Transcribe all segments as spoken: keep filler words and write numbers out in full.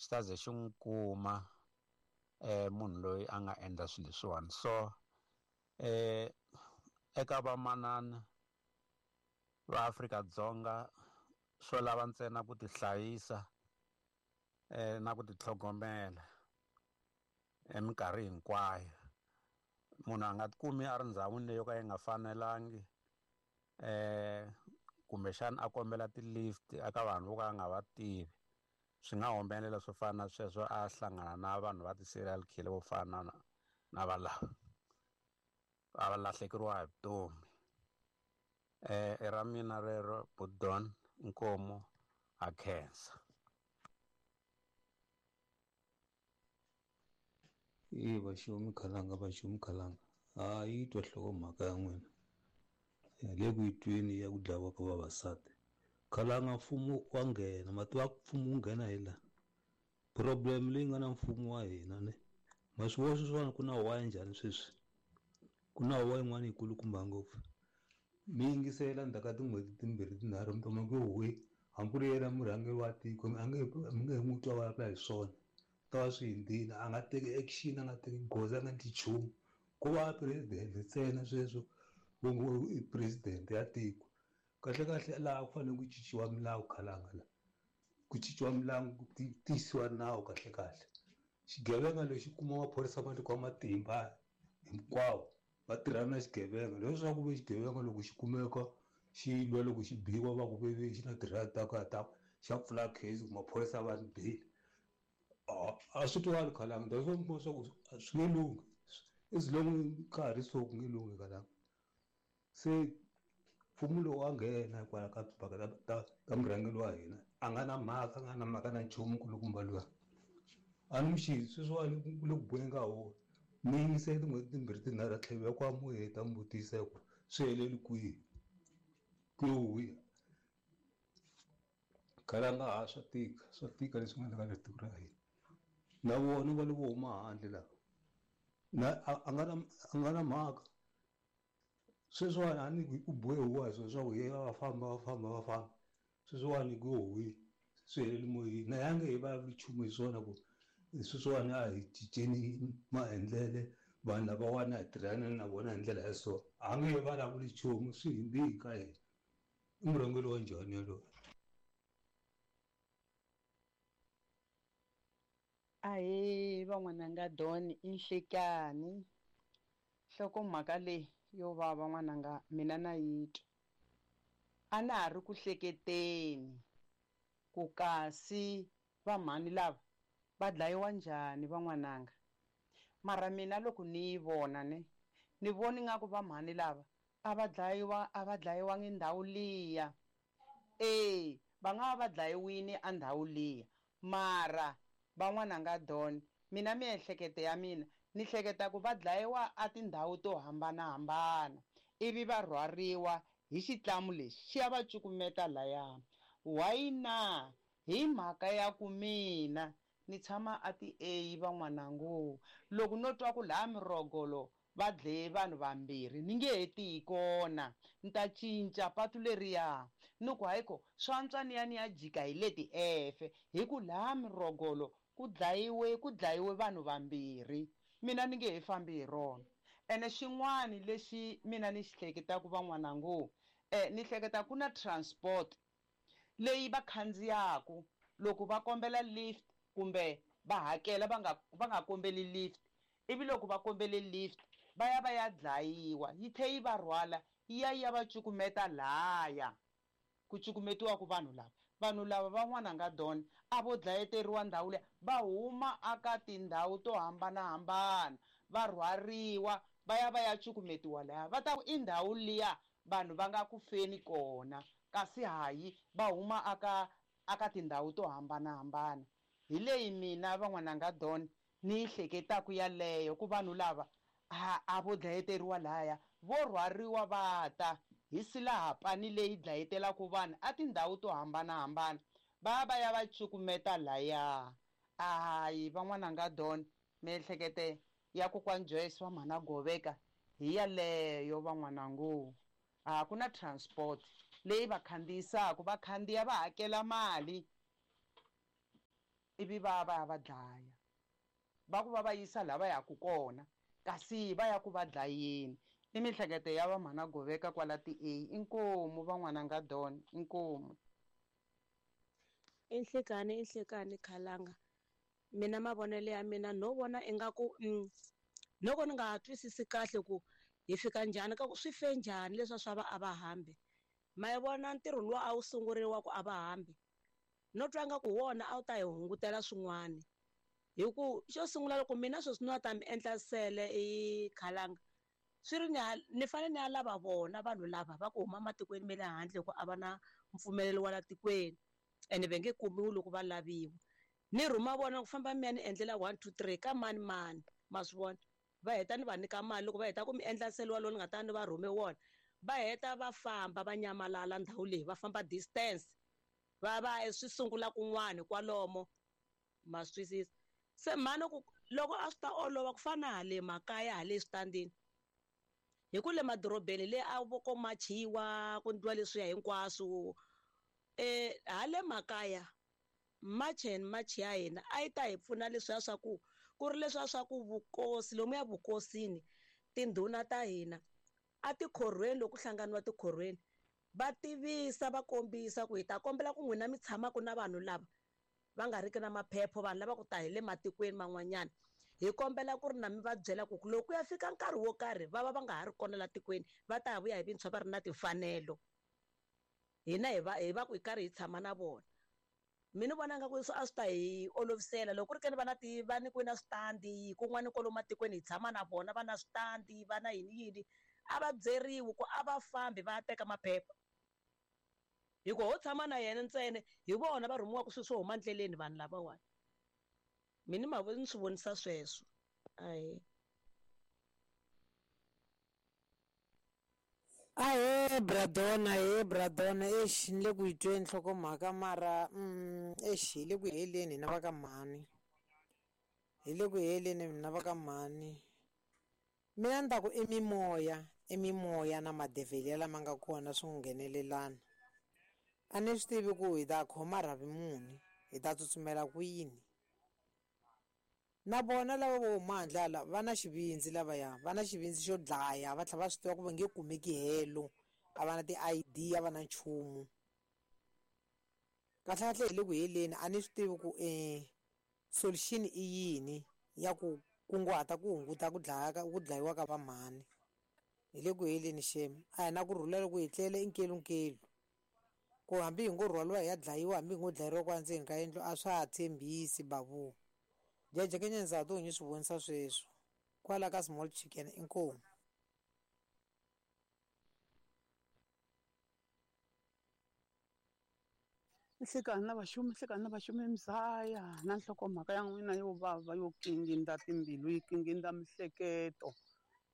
xi ta ze xi n'wi kuma eh munhu loyi a nga endla swilo leswiwani. So eh eka vamanana va Afrika-Dzonga swo lava ntsena ku tihlayisa eh na ku titlhogomela eminkarhi hinkwayo. Munhu a nga tikumi a ri ndhawini leyi yo ka yi nga fanelangi eh kumbexana a kombela ti-lift eka vanhu vo ka a nga va tivi. Swi nga humelela swo fana na sweswo, a hlangana na vanhu va ti-serial killer vo fana na na valava a va lahlekeriwa hi vutomi. Eh i ra mina rero, Budon Nkomo, a khensa. E vaxomi khalanga vaxomi khalanga a yi twa nhlokomhaka ya n'wina le ku yi tweni ya ku dlawa ka vavasati. Khalanga mfumo wa nghena, mati wa mfumo wu nghena hi la problem leyi nga na mfumo wa hina ne ma swi vona sweswiwani ku na huwa ya njhani sweswi, ku na huwa yin'wana yikulukumba ngopfu. Mi yingisela ndzhaku ka tin'hweti timbirhi tinharhu mi kuma ku huwe hambi ku ri yena murhangeri wa tiko a nge mi nge he n'wi twa vulavula hi swona, ta va swi hundzile, a nga teki action, a nga teki goza, a nga endli nchumu. Ko va president ntsena sweswo vo ngo i president ya tiko. Kahle kahle laha ku fanele ku cinciwa milawu khalanga la ku cinciwa milawu ku tiyisiwa nawu kahle kahle. Xigevenga lexi kuma maphorisa ma nyikiwa matimba hinkwawo va tirhana na xigevenga leswaku ve xigevenga loko xi kumeka xi lwa loko xi biwa va ku veve xi na tirhaya ta ka ta xa pfula case ku maphorisa va ni bile. A swi twali khalanga that's why mi kuma swa ku swi nge lunghi as long ka ha ri so ku nge lunghi khalanga. Se mfumo lowu wa nghena kwala ka timhaka ta ta ta murhangeri wa hina a nga na mhaka a nga na mhaka na nchumu kulukumba luya a ni muxi sweswiwani ku le ku boheni ka wona. Mi yingisele tin'hweti timbirhi tinharhu a tlhela kwa mu heta mi vutisa ku swi heleli kwihi ku yo khalanga ha swa tika swa tika leswi nga endleka le tiko ra hina. Na vona va le vo huma handle laha na a nga na a nga na mhaka sweswiwani a ni ku bohe huwa hi swona swa ku ye va famba va famba va famba sweswiwani ku yo huwi swi heleli moyeni na ya nge he vulavuli nchumu hi swona ku sweswiwani a hi cinceni maendlele vanhu lavawani a hi tirhana na vona hi ndlela ya so a nge he vulavuli nchumu swi hundzile ka hina. I murhangeri wa njhani yaloye? Ahee van'wananga Don, i nhlekani nhlokomhaka leyi yo vava n'wananga mina na yi twa. A na ha ri ku hleketeni ku kasi vamhani lava va dlayiwa njhani van'wananga, mara mina loko ni yi vona ne ni voni nga ku vamhani lava a va dlayiwa a va dlayiwangi ndhawu liya. E va nga va va dlayiwini a ndhawu liya, mara van'wananga Don mina miehleketo ya mina ni hleketa ku va dlayiwa a tindhawu to hambanahambana ivi va rhwariwa hi xitlamu lexi xi ya va cukumeta laya. Why na? Hi mhaka ya ku mina ni tshama a ti A van'wanango loko no twa ku laha Mirogolo va dlaye vanhu vambirhi ni nge he tiyi kona, ni ta cinca patu leriya ni ku hayiko swa antswa ni ya ni ya jika hi leti efe hi ku laha Mirogolo ku dlayiwe ku dlayiwe vanhu vambirhi mina ni nge he fambi hi rona. Ene xin'wani lexi mina ni xi hleketaka van'wanango eh ni hleketa ku na transport leyi va khandziyaku loko va kombela lift kumbe va hakela va nga va nga kombeli lift, ivi loko va kombele lift va ya va ya dlayiwa yi tlhe yi va rhwala yi ya yi ya va cukumeta laya ku cukumetiwaku vanhu lava. Vanhu lava van'wananga Don a vo dlayeteriwa ndhawu liya, va huma aka tindhawu to hambanahambana va rhwariwa va ya va ya cukumetiwa laya, va ta ku i ndhawu liya vanhu va nga ku feni kona kasi hayi va huma aka aka tindhawu to hambanahambana. Hi leyi mina van'wananga Don ni yi hleketaka yaleyo ku vanhu lava a a vo dlayeteriwa laya vo rhwariwa va ta hi silahapani leyi dlayetelaka vanhu a tindhawu to hambanahambana va va ya va cukumeta laya. Hayi van'wananga Don miehlekete ya kokwani Joyce wa mhana Goveka hi yaleyo van'wanango. A ku na transport leyi va khandziyisaka, va khandziya va hakela mali. Ivi va va ya va dlaya. Va ku va va yisa laha va yaka kona kasi va ya ku va dlayeni. I mihleketo ya va mhana Goveka kwala ti A. Inkomu van'wananga Don, inkomu. I nhlekani i nhlekani Khalanga. Mina mavonelo ya mina no vona ingaku mm, loko ni nga twisisi kahle ku hi fika njhani ka ku swi fe njhani leswi swa va a va hambi. Ma yi vona ntirho lowu a wu sunguriwa ku a va hambi. No twa nga ku wona a wu ta hi hungutela swin'wana. Hi ku xo sungula loko mina sweswi ni ta mi endla sele i Khalanga swi ri ni ni fanele ni ya lava vona vanhu lava va ku huma matikweni ma le handle ku a va na mpfumelelo wa la tikweni ene va nge kumiwi loko va laviwa. Ni rhuma vona ku famba mi ya ni endlela one two three ka mani mani ma swi vona. Va heta ni va nyika mali loko va heta ku mi endla nsele walowo ni nga ta ni va rhume wona va heta va famba va nyamalala ndhawu leyi va famba distance va va swi sungula kun'wana kwalomo ma swi twisisa. Se mhani ku loko a swi ta olova ku fana hale makaya hale switandini hi ku le madorobeni le a vo ko machiwa ku ndliwa leswiya hinkwaswo eh hale makaya march and march ya hina a yi ta hi pfuna leswiya swa ku ku ri leswiya swa ku vukosi lomuya vukosini tindhuna ta hina a tikhorhweni loko ku hlanganiwa tikhorhweni va tivisa va kombisa ku hi ta kombela ku n'wina mi tshamaka na vanhu lava va nga riki na maphepha vanhu lava ku ta hi le matikweni man'wanyana hi kombela ku ri na mi va byela ku loko ku ya fika nkarhi wo karhi va va va nga ha ri kona la tikweni va ta vuya hi vintshwa va ri na timfanelo hina hi va hi va ku hi karhi hi tshama na vona. Mina vona nga ku a swi ta hi olovisela loko ku ri keni va na ti va nyikiwe na switandi kun'wana kwalomu matikweni hi tshama na vona va na switandi va na yini yini a va byeriwi ku a va fambi va ya teka maphepha hi ku ho tshama na yena ntsena hi vona va rhumiwaka swilo swo huma ndleleni vanhu lavawani. Mina ma ni swi vonisa sweswo. Ahee. Ahee Bradona, ahee Bradona, exi ni le ku yi tweni nhlokomhaka mara mm, exi hi le ku heleni hina va ka mhani. Hi le ku heleni hina va ka mhani. Mina ni ta ku i mimoya, i mimoya na madevhele lama nga kona swi nghenelelana. A ni swi tivi ku hi ta khoma rhavi muni, hi ta tsutsumela kwini. Na vona lava vo huma handle hala va na xivindzi lavaya, va na xivindzi xo dlaya va tlhela va swi tiva ku va nge kumeki helo, a va na ti-I D a va na nchumu. Kahlekahle hi le ku heleni a ni swi tivi ku solution i yini ya ku kunguhata ku hunguta ku dlaya ka ku dlayiwa ka vamhani. Hi le ku heleni xem, a hi na ku rhula loko hi tlele i nkelunkelu. Ku hambi hi ngo rhwaliwa hi ya dlayiwa hambi hi ngo dlayeriwa kwala ndzeni ka yindlu a swa ha tshembisi babu. Jeje Kenyeza to nyi swi vonisa sweswo kwala ka small chicken inkomu. Nhlekani na vaxumi, nhlekani na vaxumi mzaya na nhlokomhaka ya n'wina yo vava yo kinginda timbilu yi kinginda mihleketo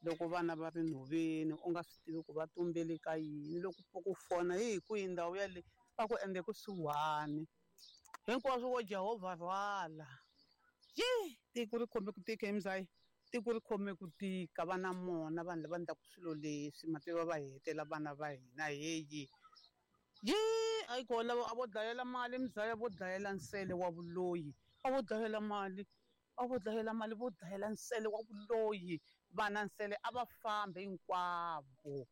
loko vana va ri nhoveni u nga swi tivi ku va tumbele ka yini loko ku fona hi kwihi ndhawu yale va ku ende kusuhani hinkwaswo wo Jehovha rhwala. Ye tiko ri khome ku tika mzaya, tiko ri khome ku tika va na mona vanhu lava endlaka swilo leswi mativa va hetela vana va hina heyi. Ye a yi kona a vo dlayela mali mzaya vo dlayela nsele wa vuloyi a vo dlayela mali a vo dlayela mali vo dlayela nsele wa vuloyi vana nsele a va fambi hinkwavo.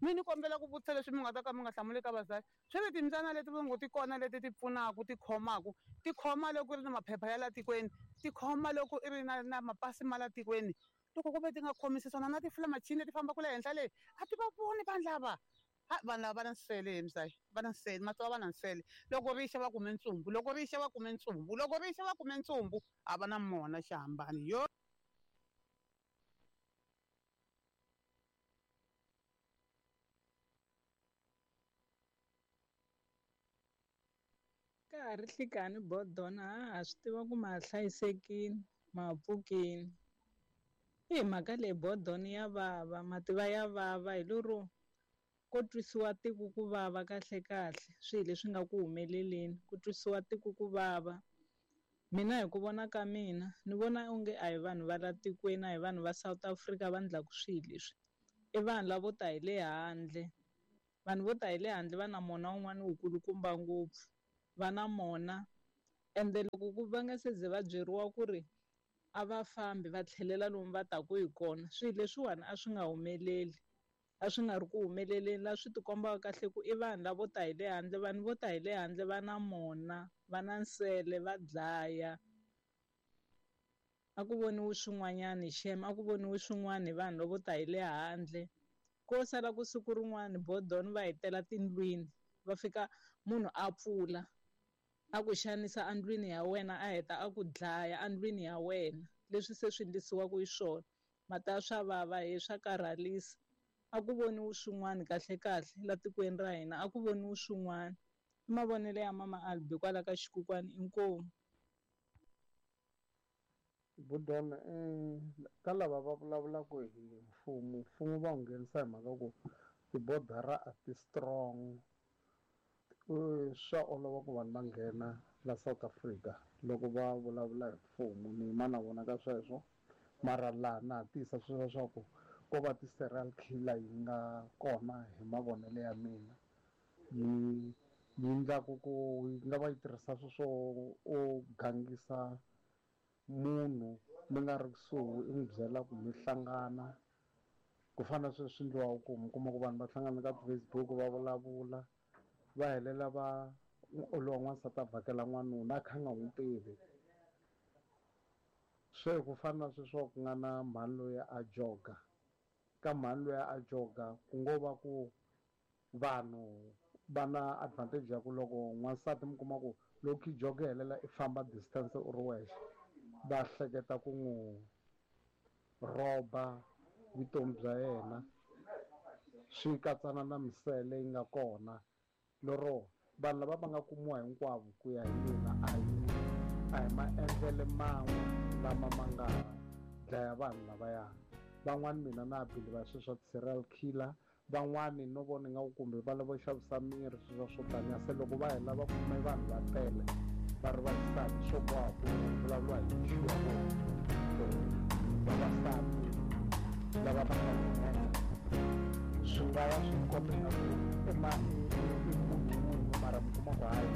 Mina ni kombela ku vutisa leswi mi nga ta ka mi nga hlamuli ka vazali swi ri timbyana leti va ngo ti kona leti ti pfunaka ti khomaka ti khoma loko i ri na maphepha ya la tikweni ti khoma loko i ri na na mapasi ma la tikweni loko ku ve ti nga khomisi swona na tifulamachini leti fambaka le henhla leyi a ti va voni vanhu lava. Ha vanhu lava va na nsele he mzaya va na nsele matsavu va na nsele loko rixa va kume ntsumbu loko rixa va kume ntsumbu loko rixa va kume ntsumbu a va na mona xihambano yo. Ka ha ri nhlikani Bodona ha ha swi tiva ku ma ha hlayisekile ma ha pfukile. I mhaka leyi Bodona ya vava mativa ya vava hi lero ko twisiwa tiko ku vava kahle kahle swilo leswi nga ku humeleleni ku twisiwa tiko ku vava. Mina hi ku vona ka mina ni vona onge a hi vanhu va la tikweni a hi vanhu va South Africa va endlaka swilo leswi i vanhu lavo ta hi le handle. Vanhu vo ta hi le handle va na mona wun'wana wu kulukumba ngopfu va na mona Ende loko ku va nga se ze va byeriwa ku ri a va fambi va tlhelela lomu va taku hi kona, swilo leswiwani a swi nga humeleli, a swi nga ri ku humeleleni. Laha swi tikombaka kahle ku i vanhu lavo ta hi le handle, vanhu vo ta hi le handle va na mona, va na nsele, va dlaya. A ku voniwi swin'wanyani xem, a ku voniwi swin'wana hi vanhu lavo ta hi le handle. Ko sala ku siku rin'wana bodoni va hetela tindlwini, va fika munhu a pfula a ku xanisa endlwini ya wena, a heta a ku dlaya endlwini ya wena. Leswi se swi endlisiwaka hi swona mata swa vava hi swa karhalisa. A ku voniwi swin'wana kahle kahle la tikweni ra hina, a ku voniwi swin'wana. I mavonelo ya mama Albi kwala ka Xikukwani, inkomu. Budona eh ka lava va vulavulaka hi mfumo, mfumo va wu nghenisa hi mhaka ku tibodara a ti strong. Swa olova ku vanhu va nghena la South Africa loko va vulavula hi mfumo, ni yima na vona ka sweswo. Mara laha na ha tiyisa sweswo leswaku ko va ti-serial killer yi nga kona hi mavonelo ya mina, yi yi endlaku ku yi nga va yi tirhisa sweswo o gangisa munhu mi nga ri kusuhi, i n'wi byela ku mi hlangana. Ku fana na sweswi endliwaka ku mi kuma ku vanhu va hlangana ka ti-Facebook va vulavula, va helela va lowa n'wansati a vhakela n'wanuna a kha a nga n'wi tivi. Se ku fana na sweswo ku nga na mhani loyi a joga, ka mhani loyi a joga ku ngo va ku vanhu va na advantage ya ku loko n'wansati mi kuma ku loko i joga helela i famba distance u ri wexe, va hleketa ku n'wi rhoba vutomi bya yena, swi katsana na misele yi nga kona. Lero vanhu lava va nga kumiwa hinkwavo ku ya hi mina a hi a hi maendlele man'we lama ma nga dlaya vanhu lavaya. Van'wani mina na believe sweswo swa ti-serial killer, van'wani no vona ingaku kumbe va lava xavisa miri sweswo swo taniya. Se loko va hela va kume vanhu va tele va ri vaxisati, swo boha ku vulavuriwa hi issue ya vona vavasati lava va nga nghena, swi nga va swi komba ingaku i ma i munhu wun'we, mara mi kuma ku hayi